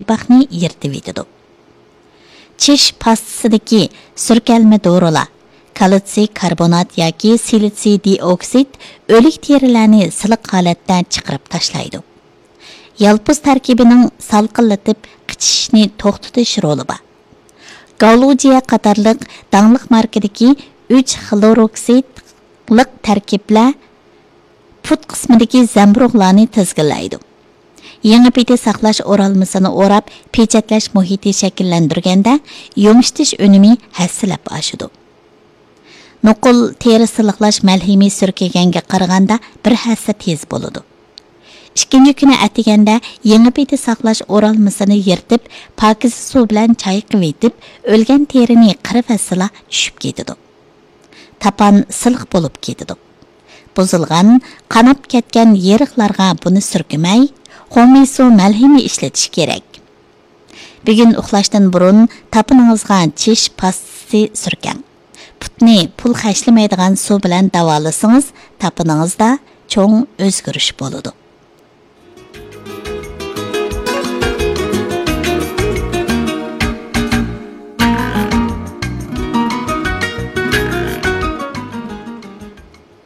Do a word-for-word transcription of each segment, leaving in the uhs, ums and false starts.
پۇتپاقنى يىرتىۋېتىدۇ. چىش پاستىسىدىكى سۈركەلمە دورىلار، كالتسىي كاربونات ياكى سىلىتسىي دىئوكسىد ئۆلۈك تېرىلەرنى سىلىق ھالەتتە چىقىرىپ تاشلايدۇ. يالپۇز تەركىبىنىڭ سالقىنلىتىپ قىچىشىشنى توختىتىش رولى بار. گاۋلۇجيا قاتارلىق داڭلىق ماركىدىكى ئۈچ خلوروكسىدلىق تەركىبلەر پۇت قىسمىدىكى زەمبۇرۇغلارنى تىزگىنلەيدۇ. يېڭى پېتى ساقلاش ئورالمىسىنى ئوراپ، پېچەتلەش مۇھىتى شەكىللەندۈرگەندە، يۇمشىتىش ئۈنۈمى ھەسسىلەپ ئاشىدۇ. نوقۇل تېرە سىلىقلاش مەلھىمى سۈركىگەنگە قارىغاندا بىر ھەسسە تېز بولىدۇ. ئىككىنچى كۈنى ئەتىگەندە يېڭى پېتى ساقلاش ئورالمىسىنى يىرتىپ، پاكىز سۇ بىلەن چايقىۋېتىپ، ئۆلگەن تېرىنى قىرىۋەتسىلا چۈشۈپ كېتىدۇ. تاپان سىلىق بولۇپ كېتىدۇ. بۇزۇلغان، قاناپ كەتكەن يېرىقلارغا بۇنى سۈركىمەي، خۇڭمىسۇ مەلھىمى ئىشلىتىش كېرەك. بۈگۈن ئۇخلاشتىن بۇرۇن تاپىنىڭىزغا چىش پاستىسى سۈركەڭ. پۇتنى پۇل خەجلىمەيدىغان سۇ بىلەن داۋالىسىڭىز، تاپىنىڭىزدا چوڭ ئۆزگىرىش بولىدۇ.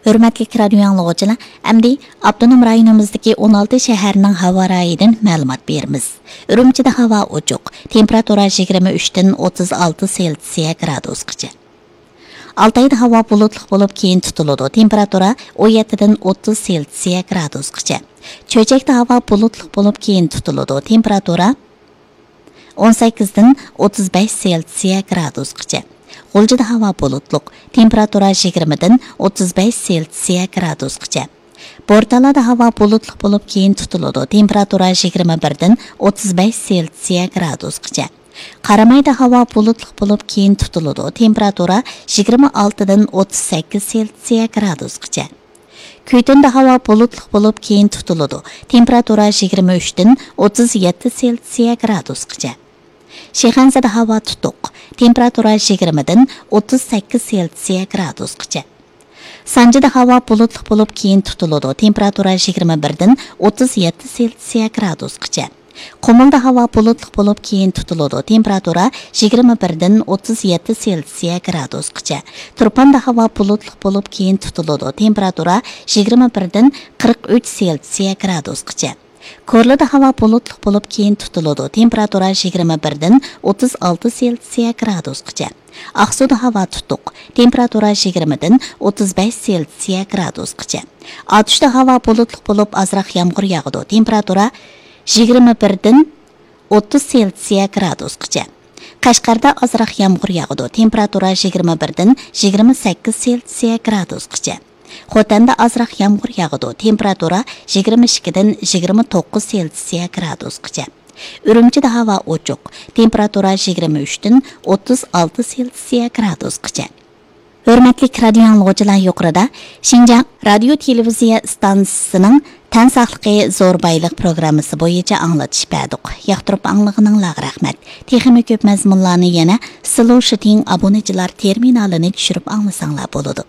ھۆرمەتلىك رادىيو ئاڭلىغۇچىلار، ئەمدى ئاپتونوم رايونىمىزدىكى ئون ئالتە شەھەرنىڭ ھاۋا رايىدىن مەلۇمات بېرىمىز. ئۈرۈمچىدە ھاۋا ئوچۇق، تېمپېراتۇرا يىگىرمە ئۈچتىن ئوتتۇز ئالتە سېلسىيە گرادۇسقىچە. ئالتايدا ھاۋا بۇلۇتلۇق بولۇپ، كېيىن تۇتۇلىدۇ، تېمپېراتۇرا ئون يەتتىدىن ئوتتۇز سېلسىيە گرادۇسقىچە. چۆچەكتە ھاۋا بۇلۇتلۇق بولۇپ، كېيىن تۇتۇلىدۇ، تېمپېراتۇرا ئون سەككىزدىن ئوتتۇز بەش سېلسىيە گرادۇسقىچە. غۇلجىدا ھاۋا بۇلۇتلۇق، تېمپېراتۇرا يىگىرمىدىن ئوتتۇز بەش سېلسىيە گرادۇسقىچە. بورتالادا ھاۋا بۇلۇتلۇق بولۇپ، كېيىن تۇتۇلىدۇ، تېمپېراتۇرا يىگىرمە بىردىن ئوتتۇز بەش سېلسىيە گرادۇسقىچە. قارامايدا ھاۋا بۇلۇتلۇق بولۇپ، كېيىن تۇتۇلىدۇ، تېمپېراتۇرا يىگىرمە ئالتىدىن ئوتتۇز سەككىز سېلسىيە گرادۇسقىچە. كۈيتۈندە ھاۋا بۇلۇتلۇق بولۇپ، كېيىن تۇتۇلىدۇ، تېمپېراتۇرا يىگىرمە ئۈچتىن ئوتتۇز يەتتە سېلسىيە گرادۇسقىچە. شىخەنزىدە ھاۋا تۇتۇق، تېمپېراتۇرا يىگىرمىدىن ئوتتۇز سەككىز سېلسىيە گرادۇسقىچە. سانجىدا ھاۋا بۇلۇتلۇق بولۇپ، كېيىن تۇتۇلىدۇ، تېمپېراتۇرا يىگىرمە بىردىن ئوتتۇز يەتتە سېلسىيە گرادۇسقىچە. قۇمۇلدا ھاۋا بۇلۇتلۇق بولۇپ، كېيىن تۇتۇلىدۇ، تېمپېراتۇرا يىگىرمە بىردىن ئوتتۇز يەتتە سېلسىيە گرادۇسقىچە. تۇرپاندا ھاۋا بۇلۇتلۇق بولۇپ، كېيىن تۇتۇلىدۇ، تېمپېراتۇرا يىگىرمە بىردىن قىرىق ئۈچ سېلسىيە گرادۇسقىچە. كورلىدا ھاۋا بۇلۇتلۇق بولۇپ، كېيىن تۇتۇلىدۇ، تېمپېراتۇرا يىگىرمە بىردىن ئوتتۇز ئالتە سېلسىيە گرادۇسقىچە. ئاقسۇدا ھاۋا تۇتۇق، تېمپېراتۇرا يىگىرمىدىن ئوتتۇز بەش سېلسىيە گرادۇسقىچە. ئاتۇشتا ھاۋا بۇلۇتلۇق بولۇپ، ئازراق يامغۇر ياغىدۇ، تېمپېراتۇرا يىگىرمە بىردىن ئوتتۇز سېلسىيە گرادۇسقىچە. قەشقەردە ئازراق يامغۇر ياغىدۇ، تېمپېراتۇرا يىگىرمە بىردىن يىگىرمە سەككىز سېلسىيە گرادۇسقىچە. خوتەندە ئازراق يامغۇر ياغىدۇ، تېمپېراتۇرا يىگىرمە ئىككىدىن يىگىرمە توققۇز سېلسىيە گرادۇسقىچە. ئۈرۈمچىدە ھاۋا ئوچۇق، تېمپېراتۇرا يىگىرمە ئۈچتىن ئوتتۇز ئالتە سېلسىيە گرادۇسقىچە. ھۆرمەتلىك رادىيو ئاڭلىغۇچىلار، يۇقىرىدا شىنجاڭ رادىيو تېلېۋىزىيە ئىستانسىسىنىڭ تەن ساقلىقى زور بايلىق پروگراممىسى بويىچە ئاڭلىتىش بەردۇق. ياقتۇرۇپ ئاڭلىغىنىڭلارغا رەھمەت. تېخىمۇ كۆپ مەزمۇنلارنى يەنە سلوشىتىڭ ئابۇنىچىلار تېرمىنالىنى چۈشۈرۈپ ئاڭلىساڭلار بولىدۇ.